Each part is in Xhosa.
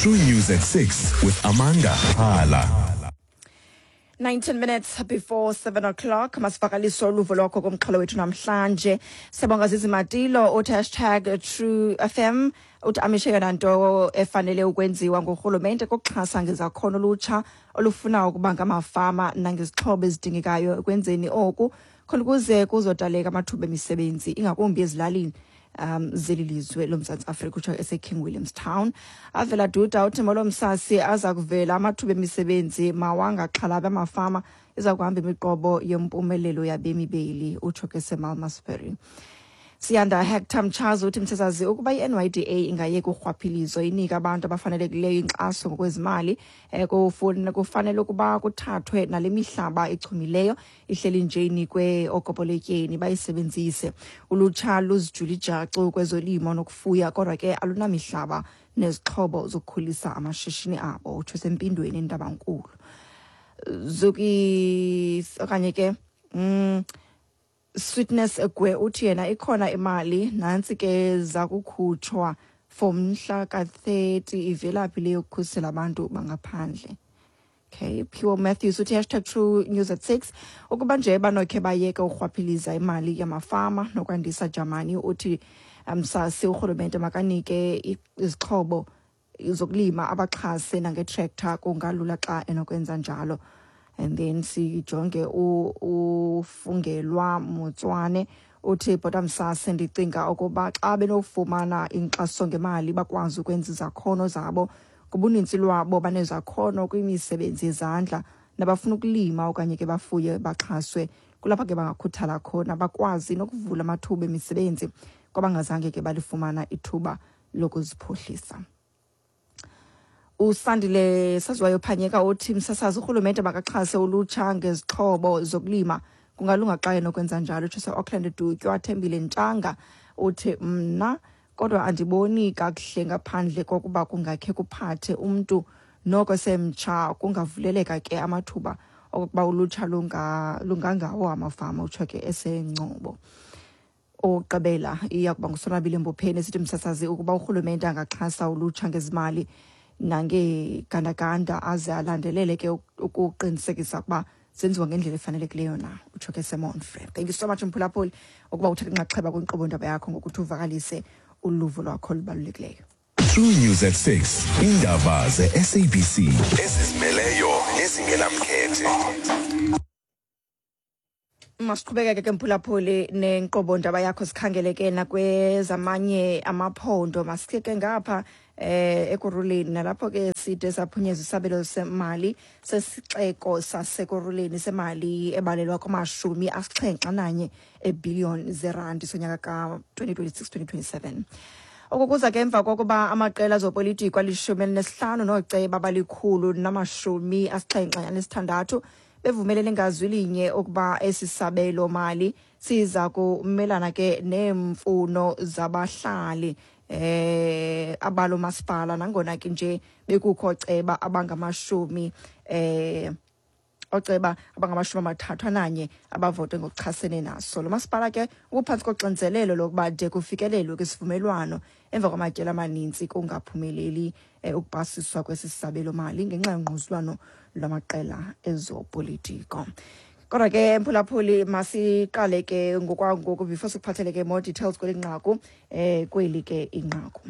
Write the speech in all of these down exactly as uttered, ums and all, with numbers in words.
True News at six with Amanda Hala. nineteen minutes before seven o'clock. Masivakalise uluvo lwakho kumxholo wethu namhlanje. Siyabonga Zizi Matilo uthi hashtag True F M, uthi amishe yona nto efanele ukwenziwa ngurhulumente kukuxhasa ngezakhono olutsha olufuna ukuba ngamafama nangezixhobo ezidingekayo ekwenzeni oku, khona ukuze kuzodaleka amathuba emisebenzi, ingakumbi ezilalini um zeli lizwe loMzantsi Afrika, utsho eseKing Williams Town. Avela Duda uthi molo msasi, aza kuvela amathuba emisebenzi, mawangaxhalabi amafama, iza kuhamba imiqobo yempumelelo yabemi beli, utsho ke seMalmesbury. Siyanda Hector Mchazi uthi msasazi, ukuba i-N Y D A ingayeka urhwaphilizo, inike abantu abafanelekileyo inkxaso ngokwezimali, eh, kufun- kufanele ukuba kuthathwe nale mihlaba ichumileyo ihleli nje, inikwe ookopoletyeni bayisebenzise. Ulutsha luzijula ijacu kwezolimo nokufuya, kodwa ke alunamihlaba nezixhobo zokukhulisa amashishini abo, utsho sempindweni eNtabankulu. Zuki okanye ke mm, Sweetness Gwe uthi yena ikhona imali nantsi ke zakukhutshwa for mhla ka-thirty, ivelaphi le yokukhusela abantu bangaphandle? Okay, Pure Matthews uthi hashtag True News at six, ukuba nje banokhe bayeke urhwaphiliza imali yamafama nokwandisa Jamani. Uthi msasi, urhulumente makanike i- izixhobo zokulima, abaxhase nangetractor, kungalula xa enokwenza njalo. And then sijonge u- ufungelwa Motswane uthi bhota msase, ndicinga ukuba xa benofumana inkxaso ngemali, bakwazi ukwenza izakhono zabo. Ngobunintsi lwabo banezakhono kwimisebenzi yezandla, nabafuna ukulima okanye ke bafuye, baxhaswe, kulapha ke bangakhuthala khona, bakwazi nokuvula amathuba emisebenzi kwabangazange ke balifumana ithuba lokuziphuhlisa. Usandile Saziwayo Phanyeka uthi msasazi, urhulumente makaxhase ulutsha ngezixhobo zokulima, kungalunga xa enokwenza njalo, utsho se-Auckland Dutywa. Thembile Ntshanga uthi mna kodwa andiboni kakuhle ngaphandle kokuba kungakhe kuphathe umntu noko semtsha, kungavuleleka ke amathuba okokuba ulutsha lunga- lungangawo amafama, utsho ke eseNgcobo. Oqabela iya kuba nguSonwabile Mbopheni esithi msasazi, ukuba urhulumente angaxhasa ulutsha ngezimali nangegandaganda, aze alandelele ke ukuqinisekisa ukuba zenziwa ngendlela efanelekileyo na, utsho ke seMonfre. Thank you so much mphulaphuli ukuba uthathe inxaxheba kwinkqubo ndaba yakho ngokuthi uvakalise uluvo lwakho olubalulekileyo. True News at six. Indaba ze-S A B C ezizimeleyo nezingenamkhethe. Masiqhubekeke ke mphulaphuli nenkqubo ndaba yakho, sikhangele ke nakwezamanye amaphondo. Masike ke ngapha eh Ekurhuleni, nalapho ke side saphunyezwa isabelo semali sesixeko saseKurhuleni semali ebalelwa kumashumi asixhenxe ananye ebhiliyoni zerandi sonyaka ka-twenty twenty-six twenty twenty-seven. Oku kuza ke emva kokuba amaqela ezopolitiko alishumi elinesihlanu nooceba abalikhulu namashumi asixhenxe anesithandathu bevumelene ngazwi linye ukuba esi sabelo mali siza kumelana ke neemfuno zabahlali eh abalo masipala, nangona ke nje bekukho ceba abangamashumi eh oceba abangamashumi amathathu ananye abavote ngokuchasene naso. Lo masipala ke ubuphantsi koxinzelelo lokuba de kufikelelwe kwisivumelwano emva kwamatyeli amaninzi kungaphumeleli eh, ukupasiswa kwesi sabelo mali ngenxa yongquzulwano lwamaqela ezopolitiko. Kodwa ke mphulaphuli, masiqale ke ngokwangoku before sikuphathele ke more details kweli nqaku, eh kweli ke inqaku.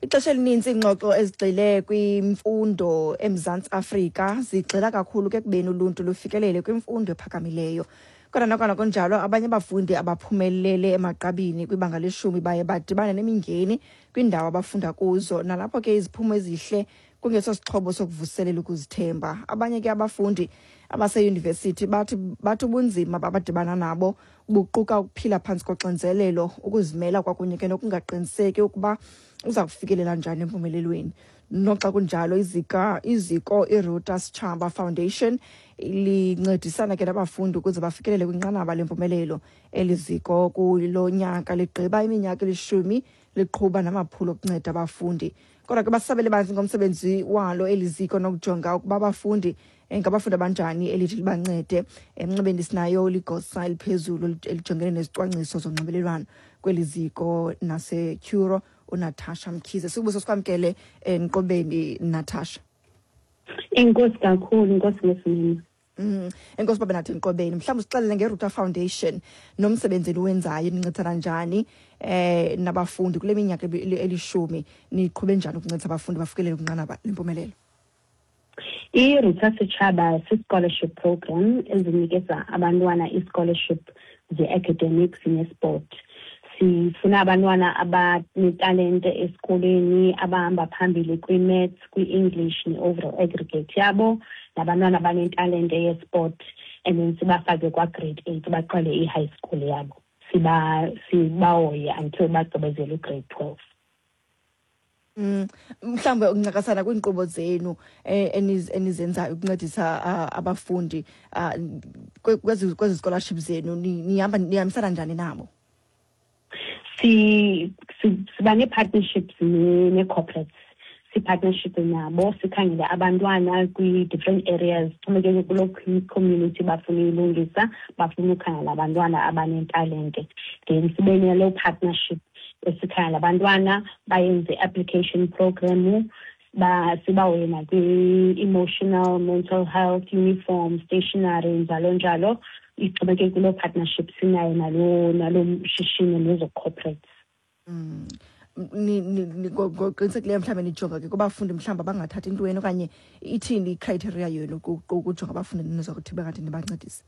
Ixesha elininzi iingxoxo ezigxile kwimfundo eMzantsi Afrika zigxila kakhulu ke ekubeni uluntu lufikelele kwimfundo ephakamileyo. Kodwa nokona kunjalo, abanye abafundi abaphumelele emagqabini kwibanga leshumi baye badibane nemingeni kwiindawo abafunda kuzo, nalapho ke iziphumo ezihle kungeso sixhobo sokuvuselela ukuzithemba. Abanye ke abafundi abaseyunivesithi bathi bathi ubunzima babadibana nabo buquka ukuphila phantsi koxinzelelo, ukuzimela kwakunye ke nokungaqiniseki ukuba uza kufikelela njani empumelelweni. Noxa kunjalo, izika iziko iRuta Sechaba Foundation lincedisana ke nabafundi ukuze bafikelele kwinqanaba lempumelelo. Eli ziko kulo nyaka ligqiba iminyaka elishumi liqhuba namaphulo okunceda abafundi. Kodwa ke basabele banzi ngomsebenzi walo eli ziko nokujonga ukuba abafundi eh, ngabafundi abanjani elithi libancede. Emnxebeni sinayo ligosa eliphezulu elijongene nezicwangciso zonxibelelwano kweli ziko naseCuro, uNatasha Mkhize. Sibuso sikwamkele enqobeni, Natasha. Enkosi kakhulu, inkosi ngesimini. Mm, enkosi babe nathi enqobeni. Mhlawumbe usixelele ngeRuta Foundation nomsebenzi eniwenzayo, nincedisana njani eh nabafundi kule minyaka elishumi, niqhube njani ukuncedisa abafundi bafikelele kwinqanaba lempumelelo? I-Ruta Sechaba si-scholarship program ezinikeza abantwana i-scholarship ze-academics ne-sport. Sifuna abantwana abanetalente esikolweni, abahamba phambili kwi-maths, kwi-English ne-overall aggregate yabo, nabantwana abanetalente ye-sport, and then sibafake kwa-grade eight baqale i-high school yabo. Siba sibahoye until bagqibezele u-grade twelve. Mm, mhlawumbe ukuncakasana kwiinkqubo zenu enizenzayo ukuncedisa abafundi kwezi kwezi scholarship zenu, nihamba nihambisana njani nabo? Si siba nee-partnerships nee-corporates, si-partnership nabo, sikhangele abantwana kwi-different areas, xhomekeke kuloo community bafuna uyilungisa, bafuna ukhangela abantwana abanetalente. Then sibe naloo partnership esikhangela abantwana bayenze i-application program, sibahoye nakwi-emotional, mental health, uniform, stationery, njalo njalo. Ixhomekeke kuloo partnership sinayo naloo naloo shishini nezo corporates. Mm. Ngokuqinisekileyo mhlawumbe nijonga ke kubafundi mhlawumbe abangathathi intweni, okanye ithini i-criteria yenu ukujonga abafundi nizokuthi bengathi nibancedise?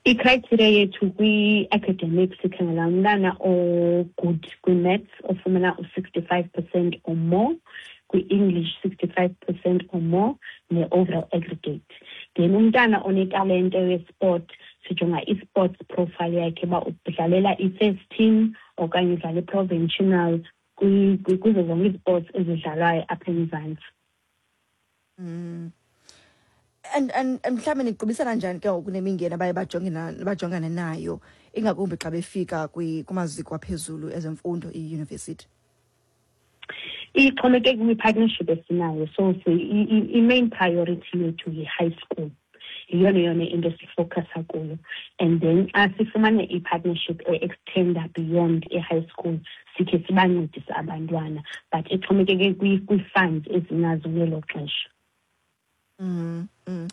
I-criteria yethu kwi-academics, sikhangela umntana o-good kwi-maths ofumana u-sixty-five percent or more, kwi-English sixty-five percent or more, ne-overall aggregate. Then umntana onetalente ye-sport, sijonga i-sports profile yakhe uba udlalela i-first team okanye udlala i-provincial kuzo zonke ii-sports ezidlalwayo apha eMzantsi. Mm. And and mhlawumbe niqubisana njani ke ngoku nemingeni abaye bajongane nayo, ingakumbi xa befika kumaziko aphezulu ezemfundo, iyunivesithi? Ixhomekeke kwi-partnership esinayo. So i-main priority yethu yi-high school, yiyona yona into esifocusa kuyo. And then xa sifumane i-partnership e-extenda beyond i-high school, sikhe sibancedise abantwana, but ixhomekeke kwii-funds ezinazo ngelo xesha. Mm, mm.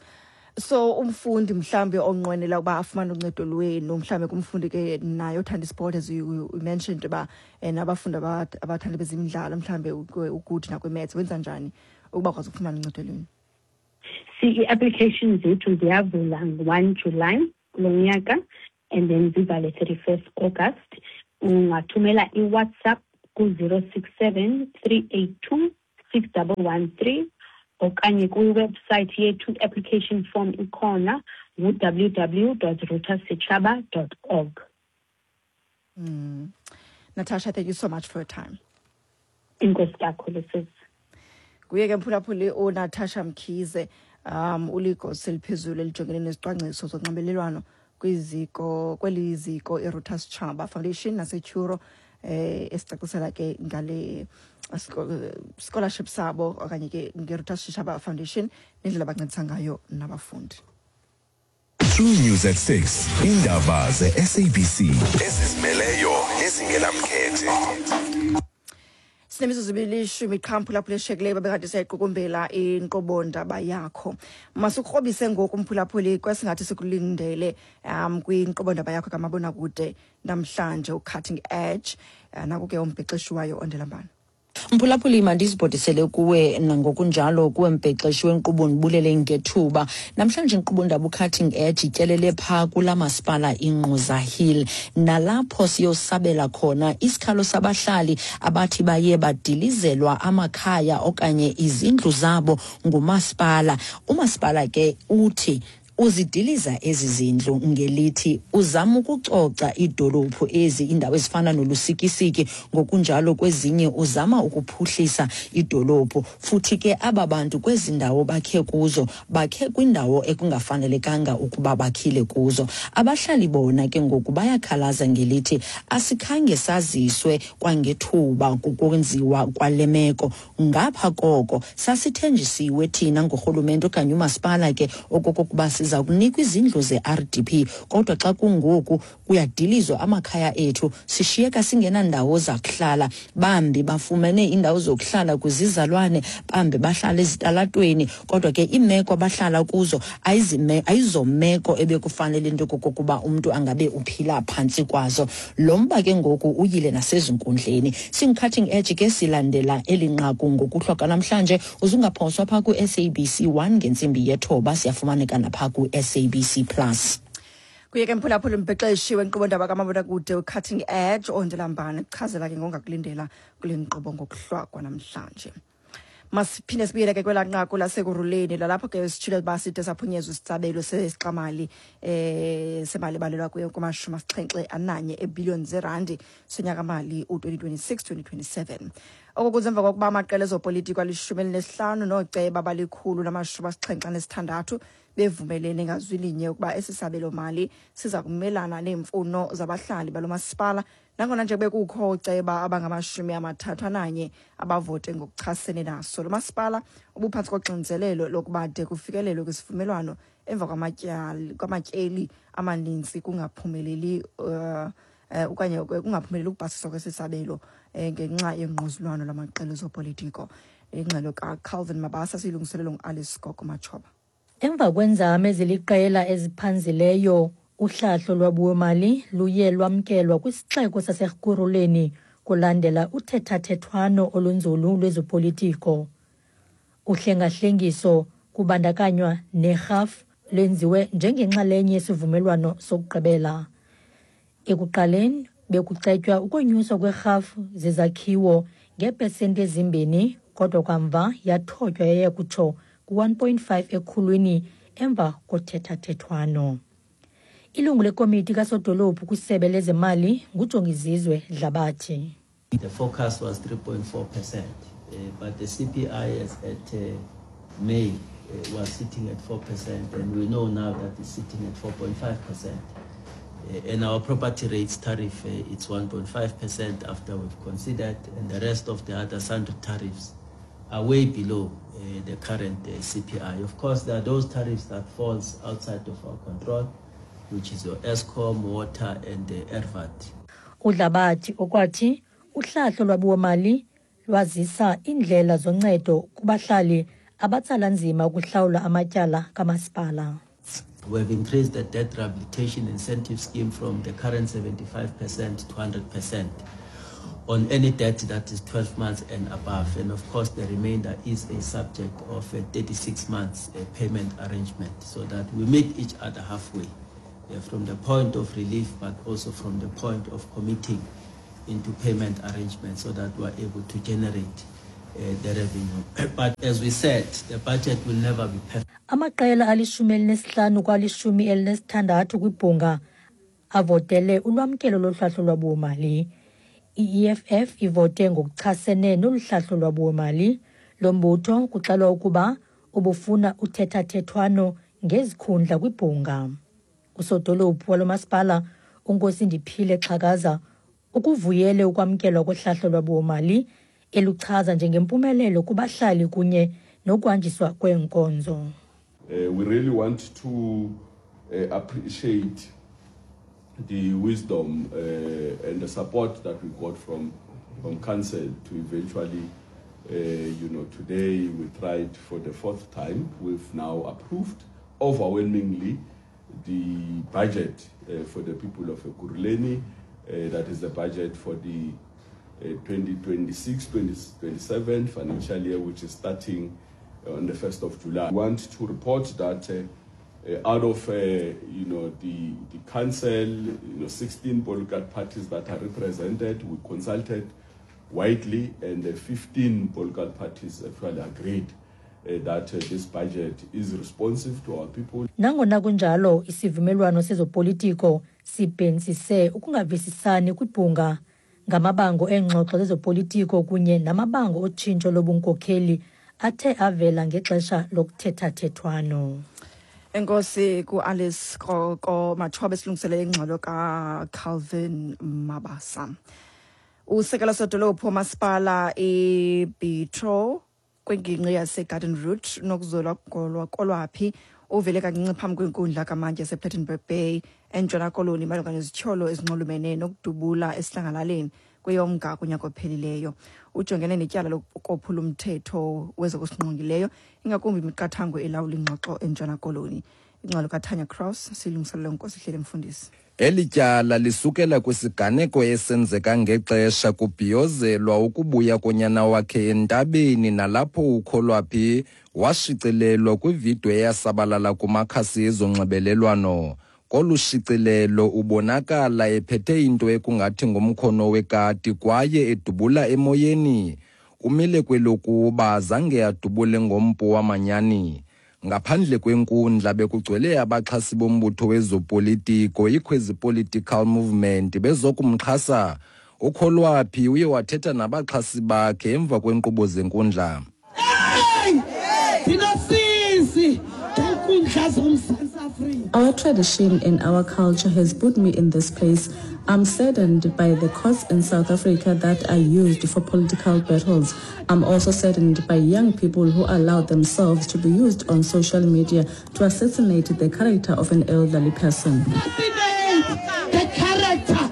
So umfundi mhlambe onqwenela ukuba afumane uncedo lwenu, mhlambe kumfundi ke naye othanda isport, as you, you mentioned uba nabafundi abathanda bezemidlalo, mhlambe ukuthi nakwi-maths, wenza njani ukuba akwazi ukufumana uncedo lwenu? Si i-application zethu ziyavula ngo-one July kulo nyaka, and then zivale thirty-first August. Ungathumela i-WhatsApp ku-zero six seven three eight two six double one three okanye kwiwebsite yethu, application form ikhona ngu-w w dot ruta sechaba dot org. Mm. Natasha, thank you so much for your time. Enkosi kakhulu sisi. Kuye ke mphulaphuli uNatasha Mkhize, um uligosa eliphezulu elijongene nezicwangciso zonxibelelwano kwiziko kweli ziko iRuta Sechaba Foundation naseTuro, eh esicacisela ke ngale scholarship sabo okanye ke ngeRuta Sechaba Foundation nendlela abancedisa ngayo nabafundi. True News at six, indaba ze-S A B C ezizimeleyo ezingenamkhethe. Sinemizuzu elishumi qha mphulaphuli eshiyekileyo babekade siyayiqukumbela inkqubo ndaba yakho. Masikrobise ngoku mphulaphuli kwesingathi sikulindele um kwinkqubo ndaba yakho kamabonakude namhlanje, uCutting Edge. Naku ke umbhexeshi wayo Ondelambana. Mphulaphuli, mandizibhodisele kuwe nangokunjalo kuwe mbhexeshi wenkqubo, ndibulele ngethuba. Namhlanje inkqubo ndaba uCutting Edge ityelele phaa kula masipala iNgquza Hill, nalapho siyosabela khona isikhalo sabahlali abathi baye badilizelwa amakhaya okanye izindlu zabo ngumasipala. Umasipala ke uthi uzidiliza ezi zindlu ngelithi uzama ukucoca idolophu ezi, indawo ezifana noLusikisiki, ngokunjalo kwezinye uzama ukuphuhlisa idolophu. Futhi ke aba bantu kwezi ndawo bakhe kuzo, bakhe kwindawo ekungafanelekanga ukuba bakhile kuzo. Abahlali bona ke ngoku bayakhalaza ngelithi asikhange saziswe kwangethuba kukwenziwa kwale meko. Ngapha koko sasithenjisiwe thina ngurhulumente okanye umasipala ke okokuba siza Siza kunikwa izindlu ze-R D P, kodwa xa kungoku kuyadilizwa amakhaya ethu, sishiyeka singenandawo zakuhlala. Bambi bafumene iindawo zokuhlala kwizizalwane, bambi bahlala ezitalatweni, kodwa ke iimeko abahlala kuzo ayizime, ayizomeko ebekufanele into okokuba umntu angabe uphila phantsi kwazo. Lo mba ke ngoku uyile nasezinkundleni. Singu-Cutting Edge ke silandela eli nqaku ngokuhlwa kanamhlanje. Uzungaphoswa phaa ku-S A B C one ngentsimbi yethoba, siyafumaneka naphaa ku-S A B C Plus. Kuye ke mphulaphula umbhexeshi wenkqubo ndaba kamabonakude uCutting Edge Ondelambane kuchazela ke ngongakulindela kule nkqubo ngokuhlwa kwanamhlanje. Masiphinde sibuyele ke kwelaa nqaku lasekuruleni, lalapho ke sitshilo uba side saphunyezwa isitsabelo sesixamali, eh, semali ebalelwa kuyo kumashumi asixhenxe ananye eebhiliyoni zeerandi sonyaka-mali u-twenty twenty-six twenty twenty-seven. Oko kuze emva kokuba amaqela ezopolitiko alishumi elinesihlanu nooceba abalikhulu namashumi asixhenxe anesithandathu bevumelene ngazwi linye ukuba esi sabelo-mali siza kumelana neemfuno zabahlali balo masipala, nangona nje bekukho ooceba abangamashumi amathathu ananye abavote ngokuchasene naso. Lo masipala ubuphantsi koxinzelelo lokuba de kufikelelwe kwisivumelwano emva kwamatyali, kwamatyeli amaninzi kungaphumeleli, eh, eh, okanye kungaphumeleli ukupasiswa kwesi sabelo, eh, ngenxa yengquzulwano lwamaqela ezopolitiko. Ingxelo kaCalvin Mabasa siyilungiselelwe nguAlice Gogo Matshoba. Emva kweenzame eziliqela eziphanzileyo, uhlahlo lwabiwomali luye lwamkelwa kwisixeko saseKurhuleni kulandela uthethathethwano olunzulu lwezopolitiko. Uhlengahlengiso kubandakanywa nerhafu lwenziwe njengenxalenye yesivumelwano sokugqibela. Ekuqaleni bekucetywa ukonyuswa kwerhafu zezakhiwo ngeepesenti ezimbini, kodwa kamva yathotywa yaya kutsho ku-one point five ekhulwini emva kothethathethwano. Ilungu lekomiti kasodolophu kwisebe lezemali nguJongizizwe Dlabathi. The forecast was three point four percent, uh, but the C P I as at, uh, May, uh, was sitting at four percent, and we know now that it's sitting at four point five percent. Uh, and our property rates tariff, uh, it's one point five percent after we've considered, and the rest of the other sundry tariffs are way below, uh, the current, uh, C P I. Of course, there are those tariffs that falls outside of our control, which is your Eskom, water, and the R V A T. UDlabathi okwathi uhlahlo lwabiwomali lwazisa iindlela zoncedo kubahlali abatsala nzima ukuhlawula amatyala kamasipala. We have increased the debt rehabilitation incentive scheme from the current seventy-five percent to hundred percent on any debt that is twelve months and above. And of course, the remainder is a subject of a thirty-six months, uh, payment arrangement, so that we meet each other halfway, uh, from the point of relief, but also from the point of committing into payment arrangement, so that we are able to generate, uh, the revenue. But as we said, the budget will never be perfect. Amaqela alishumi elinesihlanu kwalishumi elinesithandathu kwibhunga avotele ulwamkelo lohlahlo lwabiwomali. I-E F F ivote ngokuchasene nolu hlahlo lwabiwomali. Lo mbutho kuxelwa ukuba ubufuna uthethathethwano ngezikhundla kwibhunga. Usodolophu walo masipala uNkosindiphile Xhakaza ukuvuyele ukwamkelwa kohlahlo lwabiwomali, eluchaza njengempumelelo kubahlali kunye nokuhanjiswa kweenkonzo. Uh, we really want to, uh, appreciate the wisdom, uh, and the support that we got from, from council to eventually, uh, you know, today we tried for the fourth time. We've now approved overwhelmingly the budget, uh, for the people of Ekurhuleni. Uh, that is the budget for the, uh, twenty twenty-six twenty twenty-seven financial year, which is starting on the first of July. We want to report that, uh, uh, out of, uh, you know, the, the council, you know, sixteen political parties that are represented, we consulted widely, and the fifteen political parties actually agreed, uh, that, uh, this budget is responsive to our people. Nangona kunjalo, isivumelwano sezopolitiko sibhentsise ukungavisisani kwibhunga ngamabango eengxoxo zezopolitiko kunye namabango otshintsho lobunkokheli athe avela ngexesha lokuthethathethwano. Enkosi ku-Alice Kroko Matshoba esilungiselele ingxelo kaCalvin Mabasa. Usekela sodolophu womasipala iBitro kwingingqi yaseGarden Route nokuzola Kolwaphi Uvele kancinci phambi kwenkundla kamantyi yasePlettenberg Bay eNtshona Koloni malunga nezityholo ezinxulumene nokudubula esidlangalaleni kweyoMnga kunyaka ophelileyo. Ujongene netyala lokophula umthetho wezokusingqongileyo, ingakumbi imiqathango elawula ingxoxo eNtshona Koloni. Ingxelo kaTanya Cross silungiselele uNkosihlele Mfundisi. Eli tyala lisukela kwisiganeko esenzeka ngexesha kubhiyozelwa ukubuya konyana wakhe entabeni, nalapho uKholwaphi washicilelwa kwividiyo eyasabalala kumakhasi ezonxibelelwano. Kolu shicilelo ubonakala ephethe into ekungathi ngumkhono wekati kwaye edubula emoyeni. Umile kwelokuba zange adubule ngompu wamanyani. Ngaphandle kwenkundla bekugcwele abaxhasi bombutho wezopolitiko iKhwezi Political Movement bezokumxhasa. UKholwaphi uye wathetha nabaxhasi bakhe emva kwenkqubo zenkundla. Our tradition and our culture has put me in this place. I'm saddened by the courts in South Africa that are used for political battles. I'm also saddened by young people who allow themselves to be used on social media to assassinate the character of an elderly person. The character.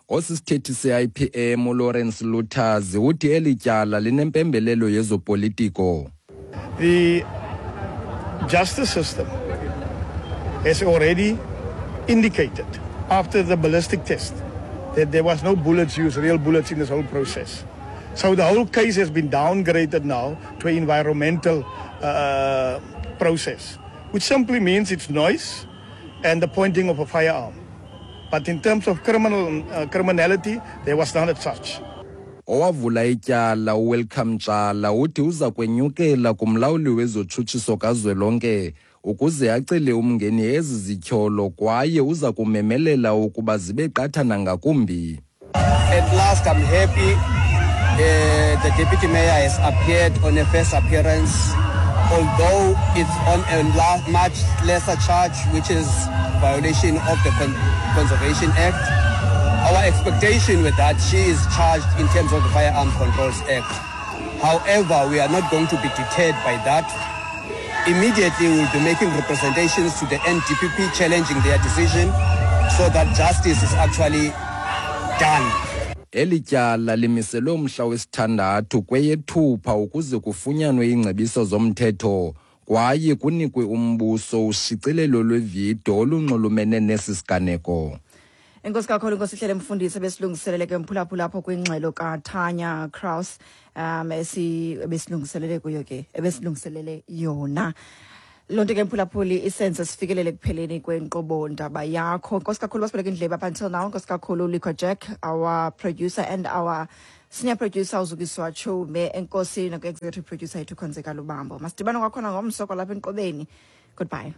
Osisithethi se-I P M uLawrence Luthazi uthi eli tyala linempembelelo yezopolitiko. The justice system has already indicated after the ballistic test that there was no bullets used, real bullets in this whole process. So the whole case has been downgraded now to an environmental uh, process, which simply means it's noise and the pointing of a firearm. But in terms of criminal uh, criminality, there was none of such. Owavula ityala uWelcome Tshala uthi uza kwenyukela kumlawuli wezotshutshiso kazwelonke ukuze acele umngeni ezi zityholo kwaye uza kumemelela ukuba zibe qatha nangakumbi. At last I'm happy uh, the deputy mayor has appeared on a first appearance, although it's on a much lesser charge, which is violation of the Con- Conservation Act. Our expectation with that, she is charged in terms of the Firearm Controls Act. However, we are not going to be deterred by that. Immediately, we will be making representations to the N D P P challenging their decision so that justice is actually done. Eli tyala limiselwe umhla wesithandathu kweyeThupha ukuze kufunyanwe iingcebiso zomthetho kwaye kunikwe umbuso ushicilelo lwevidiyo olunxulumene nesi siganeko. Enkosi kakhulu Nkosihlele Mfundisi besilungiselele ke mphulaphula apho kwingxelo kaTanya Kraus um esi besilungiselele kuyo ke ebesilungiselele yona. Loo nto ke mphulaphuli isenze sifikelele ekupheleni kwenkqubo ndaba yakho. Enkosi kakhulu basibeleke indlebe up until now. Enkosi kakhulu Liko Jack, our producer, and our senior producer uZukiswa Chume. Enkosi nakwi-executive producer yethu Khonzeka Lubambo. Masidibane kwakhona ngomso kwalapha enkqubeni. Goodbye.